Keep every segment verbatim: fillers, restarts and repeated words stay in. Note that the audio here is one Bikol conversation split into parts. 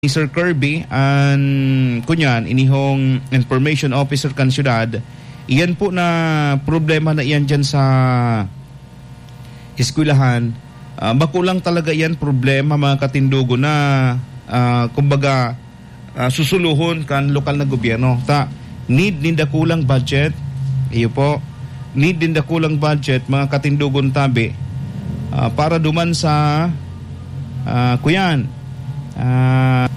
Sir Kirby, an, kunyan, inihong information officer kan syudad, iyan po na problema na iyan dyan sa eskwelahan. Ah, bako lang talaga iyan problema, mga katindogon, na, ah, kumbaga, ah, susuluhon kan lokal na gobyerno. Ta, need nin dakulang budget. Iyo po. Need nin dakulang budget, mga katindogon tabi, ah, para duman sa, ah, kuyan, ah,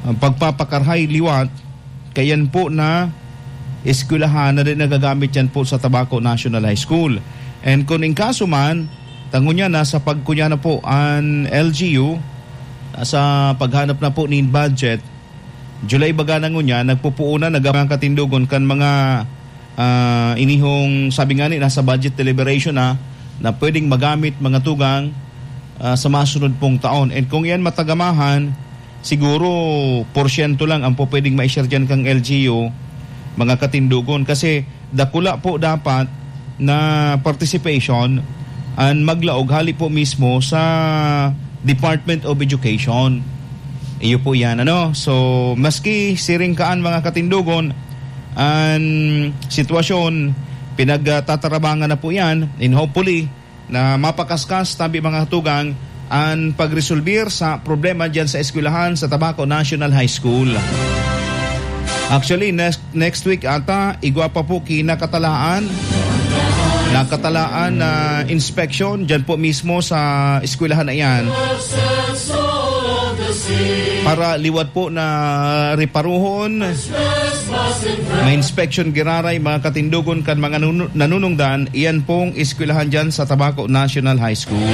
ang pagpapakarhay liwat, kayan po na eskwelahan na din nagagamit yan po sa Tabaco National High School. And kung in kaso man, tangon niya, nasa pagkunya na po an L G U, sa paghanap na po nin budget, July baga na ngunyan, nagpupuunan, nag-, mga katindogon kan mga, ah, inihong, sabi nga ni, nasa budget deliberation na, na pwedeng magamit, mga tugang, ah, sa masunod pong taon. And kung yan matagamahan, siguro porsyento lang ang po pwedeng ma-share dyan kang L G U, mga katindogon. Kasi dakula po dapat na participation an maglaog hali po mismo sa Department of Education. Iyo po yan, ano? So, maski siring kaan, mga katindogon, an sitwasyon, pinagtatarabangan na po yan, and hopefully, na mapakaskas tabi, mga tugang, an pagresolbir sa problema diyan sa eskwelahan sa Tabaco National High School. Actually, next, next week ata, igwa pa po kinakatalaan, nakatalaan na inspection diyan po mismo sa eskwelahan na iyan. Para liwat po na reparuhon, may inspection giraray, mga katindogon, kan mga nunu-, nanunungdan, iyan pong eskwelahan dyan sa Tabaco National High School.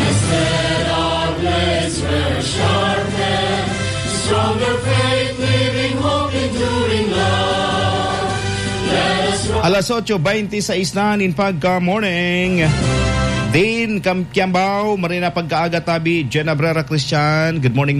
Alas otso beinti sais na nin pagka-morning. Din, Kam-, Kiambao, marina pagkaaga tabi, Jen Abrera Christian. Good morning,